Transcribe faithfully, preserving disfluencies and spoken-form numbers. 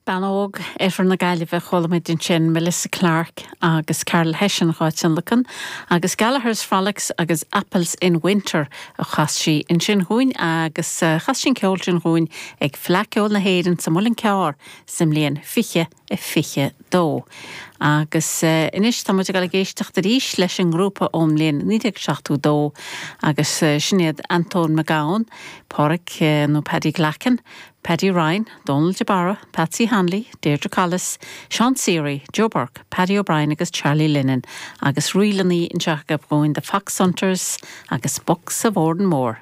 Bean óg Oirthear na Gaillimhe chuala muid ansin Melissa Clark agus Carol Hession dhá tionlacan, agus Gallagher's Frolics agus Apples in Winter a chas sí ansin dúinn agus eh, chas sí an ceol sin dúinn ag Fleadh Cheoil na hÉireann sa Muileann Cearr sa mbliain fiche a fiche dó. Agus uh, anois tá muid ag éisteacht arís leis an ngrúpa ón mbliain naoi déag seachtó dó agus uh, sin iad Anton McGowan, Pádraig uh, nó Paddy Glackin, Paddy Ryan, Donald de Barra, Patsy Hanley, Deirdre Collis, Sean Seary, Joe Burke, Paddy O'Brien agus Charlie Lennon, agus rílannaí anseo dhúinn The Fox Hunters agus Bucks of Oranmore.